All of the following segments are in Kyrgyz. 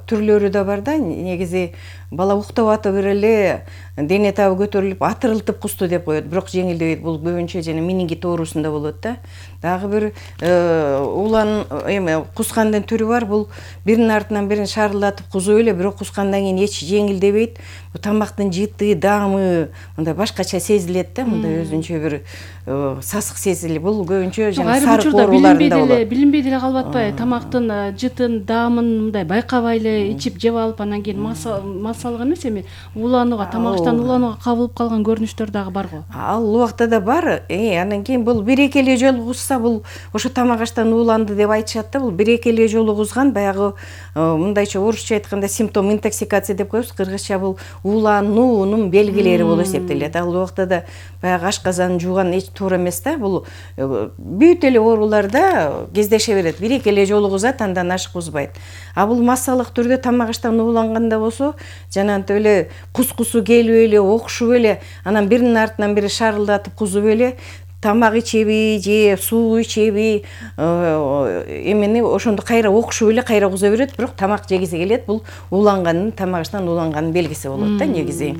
түрлөрү да бар да. Негизи бала уктап атып эле дене табы көтөрүлүп атырылтып кусту деп коет, бирок жеңилдебейт. Бул көбүнчө жана менингит оорусунда болот да. Дагы бир улан кускандын түрү бар. Бул биринин артынан бирин шарылдатып кузуп эле, бирок кускандан кийин эч жеңилдебейт. Бул тамактын жыты, даамы мындай башкача сезилет да, мындай өзүнчө бир сасык сезилет. Бул көбүнчө жана сарык ооруларында болот. Билинбей деле калып атпайбы? Тамактын жытын, даамын мындай байкабай эле ичип жеп алып, анан кийин массалык эмес, эми уланууга, тамактан уланууга кабылып калган көрүнүштөр дагы барго. Ал убакта да бар. Анан кийин бул бир-эки эле жолу кузса, бул ошо тамак аштан уланды деп айтышат да. Бул бир-эки эле жолу кузган, баягы мындайча орусча айтканда симптом интоксикация деп коебуз. Кыргызча бул улануунун белгилери болуп эсептелет. Ал убакта да баягы ашказан жууган эч туура эмес да. Бул бүт эле ооруларда кездеше берет. Бир-эки эле жолу кузат, андан ашык кузбайт. А бул массалык түрдө тамак аштан ууланганда болсо, жанагынтип эле кускусу келип эле, окшуп эле, анан биринин артынан бири шарылдатып кузуп эле, тамак ичеби же суу ичеби, эмени ошондо кайра окшуп эле кайра куза берет, бирок тамак жегиси келет. Бул ууланганын, тамак аштан ууланганын белгиси болот да негизи.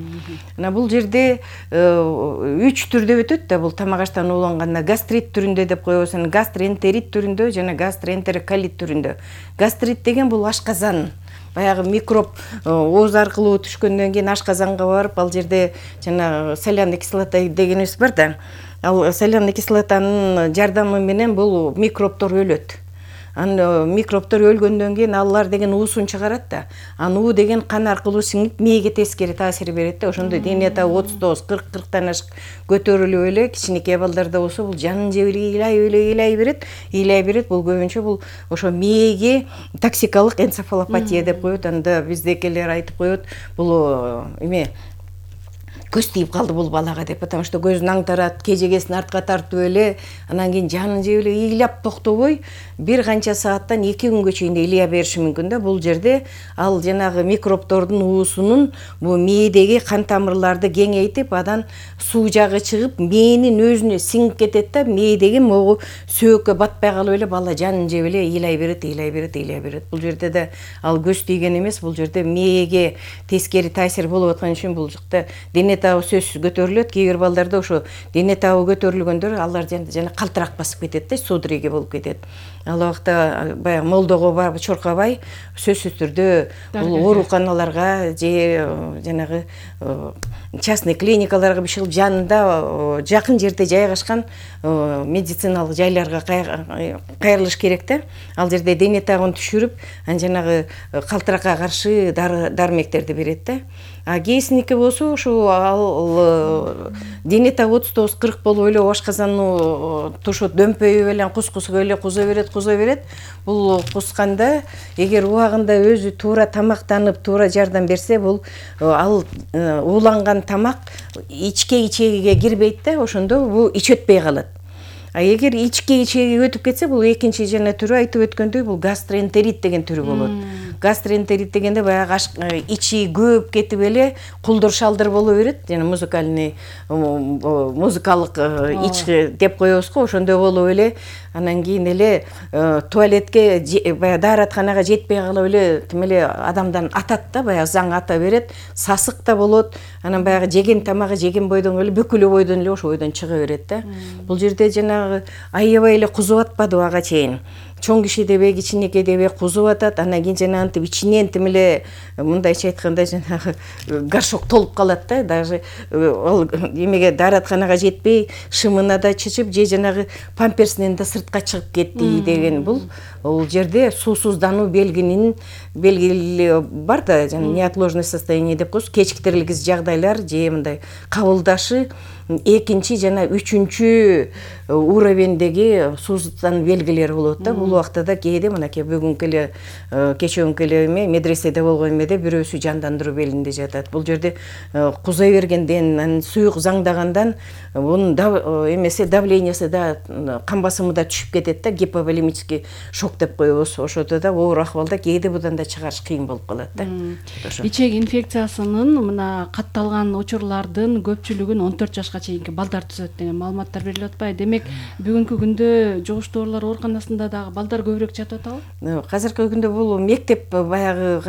Мына бул жерде 3 түрдө өтөт да. Бул тамак аштан ууланганда гастрит түрүндө деп коебуз, гастроэнтерит түрүндө жана гастроэнтероколит түрүндө. Гастрит деген бул ашказан. Баягы микроб ооз аркылуу түшкөндөн кийин ашказанга барып, ал жерде жана соляный кислота дегенибиз бар да. Ал соляный кислотанын жардамы менен бул микробдор өлөт. Анан микробдор өлгөндөн кийин алар деген уусун чыгарат да. Анан уу деген кан аркылуу сиңип мээге тескери таасир берет да. Ошондо дене табы 39-40-40тан ашык көтөрүлүп эле, кичинекей балдарда болсо бул жанын жеп эле ыйлай берет. Бул көбүнчө бул ошо мээге токсикалык энцефалопатия деп коет. Анда биздекилер айтып коет, бул көз тийип калды бул балага деп, потому что көзүн аңтарат, кежегесин артка тартып эле, анан кийин жанын жеп эле ыйлап токтобой бир канча сааттан 2 күнгө чейин ыйлай бериши мүмкүн да. Бул жерде ал жанагы микробдордун уусунун бул мээдеги кан тамырларды кеңейтип, анан суу жагы чыгып, мээнин өзүнө сиңип кетет да. Мээдеги могу сөөккө батпай калып эле бала жанын жеп эле ыйлай берет. Бул жерде да ал көз тийген эмес, бул жерде мээге тескери таасир болуп аткан үчүн бул жакта дене табы сөзсүз көтөрүлөт. Кээ бир балдарда ошо дене табы көтөрүлгөндөр алар жана калтырак басып кетет да, судороги болуп кетет. Ал убакта баягы молдого барып чуркабай, сөзсүз түрдө бул ооруканаларга же жанагы частный клиникаларга бишилип жанында жакын жерде жайгашкан медициналык жайларга кайрылыш керек да. Ал жерде дене табын түшүрүп, анан жанагы калтыракка каршы дармектерди берет да. А кээсиники болсо ошо ал дене табы 39-40 болуп эле ашказанны тушут дөмпөйүп эле кускусуга эле куза берет. Бул кусканда эгер убагында өзү туура тамактанып, туура жардам берсе, бул ал ууланган тамак ичке-ичегиге кирбейт да, ошондо бул ич өтпөй калат. А эгер ичке-ичеги өтүп кетсе, бул экинчи жана түрү айтып өткөндөй, бул гастроэнтерит деген түрү болот. Гастроэнтерит дегенде баягы ичи көп кетип эле кулдур шалдыр боло берет, жана музыкалык ич деп коебуз го, ошондой болуп эле, анан кийин эле туалетке баягы дааратканага жетпей калып эле тим эле адамдан атат да, баягы заң ата берет, сасык да болот. Анан баягы жеген тамагы жеген бойдон эле бүкүлү бойдон эле ошо бойдон чыга берет да. Бул жерде жанагы аябай эле кузуп атпады ага чейин. Чоң киши дебе, кичинекей дебе кузуп атат, анан кийин жанагынтип ичинен тим эле мындайча айтканда жанагы горшок толуп калат да. Даже ал эмеге дааратканага жетпей, шымына да чычып, же жанагы памперсинен да сыртка чыгып кетти деген. Бул жерде суусуздануу белгилери бар да, жана неотложное состояние деп коебуз, кечиктирилгис жагдайлар же мындай кабылдашы экинчи жана үчүнчү уровендеги суусуздануу белгилери болот да. Бул убакта да кээде мынакей бүгүнкү эле кечөөнкү эле медреседе болгон эмеде бирөөсү жандандыруу белинде жатат. Бул жерде кузай бергенден, суюк заңдагандан бунун эмеси давлениясы да, кан басымы да түшүп кетет да, гиповолемический шок деп коебуз. Ошодо да оор акыбалда кээде будан да чыгарыш кыйын болуп калат да. Ичек инфекциясынын мына катталган учурлардын көпчүлүгүн 14 жашка чейинки балдар түзөт деген маалыматтар берилип атпайбы? Демек, бүгүнкү күндө жугуштуу оорулар ооруканасында дагы балдар көбүрөөк жатып атабы? Азыркы күндө бул мектеп баягы